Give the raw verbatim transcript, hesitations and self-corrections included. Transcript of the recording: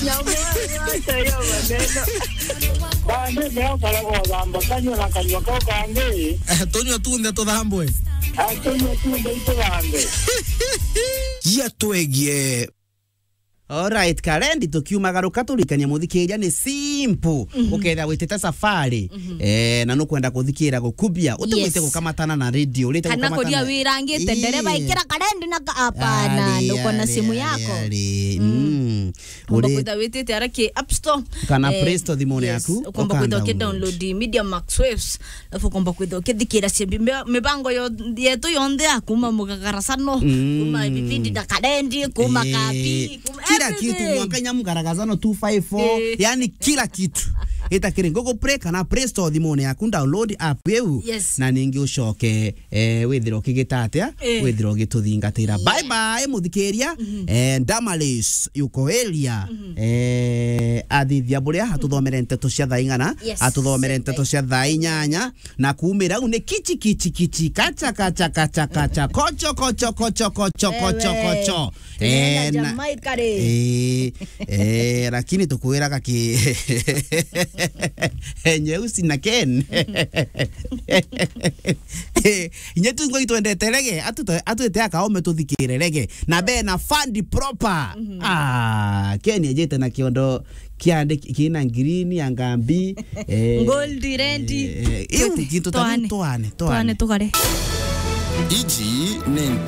Nyamwe, acha hiyo maneno. Bande, meo karago thamba kanywa na kanywa kau kangi. Eh, tunywa tunthe tuthambwe. Ah, tunywa tunthe ituthambe. Gia twegie. Alright, Karendi, tukiumagaruka turikania muthikiria ni simple. Ukethira witite safari, eh, na nukwenda kuthikira gukubia, utigwite Yes. gukamatana na radio, urite kana gukamatana kuria wirangite ndereva, ikira Karendi na ka-, hapana, Ari, nduko na ari, simu ari, yako. ari. Mm. Ukomba Uri- kwitha witite ara ki App Store. Kana Eh, Play Store thimune yes, yaku, ukomba kwitha uka download. ukidownload Media Max Waves, alafu ukomba kwitha ukithikira cia mbi-, mbe-, mibango yo-, yetu yonthe ya kuma mugagarasano, Mm. kuma vipindi na Karendi, kuma Eh, kabi, kuma kila kitu, everything. Mwaka nyamu garagazano two five four, Eh. yani kila kitu. Ita kiri Google Play kana Play Store thimune yaku, download app iu, Yes. na ningi ucoke eh, withira ukigita atia, Eh. withira ugituthingatira. Yeah. Bye bye, muthikiria. Eh, Damaris, yuko area. Eh, athithia buria, atuthomere nteto cia thaa ing'ana, Yes. atuthomere nteto cia thaa inyanya, na kuumira au ni kichi, kichi, kichi, kacha, kacha, kacha, kacha, kocho, kocho, kocho, kocho, kocho, Wewe. kocho. Tunaenda Eh, na Jamaica ri. Eh, eh, lakini tukwiraga ki nyeusi na Ken. Inye tu ngo itwendete rege, atu-, atwite akaome tuthikire rege. Na be na fund proper. Ah, Ken ejete na kiondo kiande ki-, kina green ya ngambi. Eh, Gold, red. eh, eh, iu Tuti-, gintu ta twane. Twane, twane. Twane tukare. Iji ni